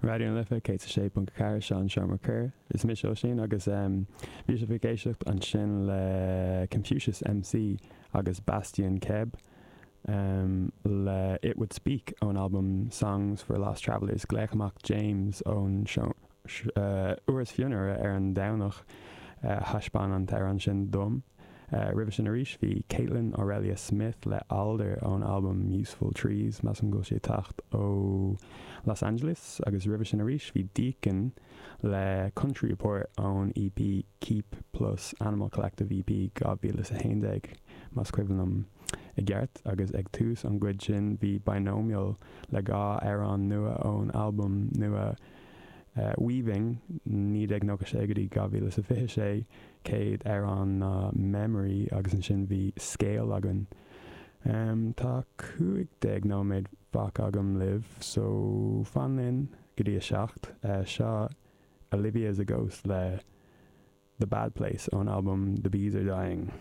Raidió na Life 106.4 seo an Seomra Coir. Is mise Oisín agus bhí sibh ag éisteacht ansin le Confucius MC agus Bastien Keb le It Would Speak ón albam Songs for Lost Travellers. Glaoch amach James ón uair is fionnuaire ar an Domhnach a thaispeáin an t-amhrán sin dom. Roimhe sin arís bhí Kaitlyn Aurelia Smith le Alder ón albam Useful Trees, measaim go bhfuil sí ag teacht ó Los Angeles, agus roimhe sin arís bhí Deacon le Country Report ón EP Keep Plus Animal Collective EP 2011, más cuimhin liom i gceart, agus ag tús an gcuid sin bhí Binomial le dhá amhrán nua ón albam nua Weaving, 1996 go dtí 2026. Céad amhrán ná Memory agus ansin bhí Scale againn. Tá 15 nóiméad fágtha agam libh so fan linn go dtí a 7. Seo Olivia Is a Ghost le The Bad Place ón albam The Bees Are Dying.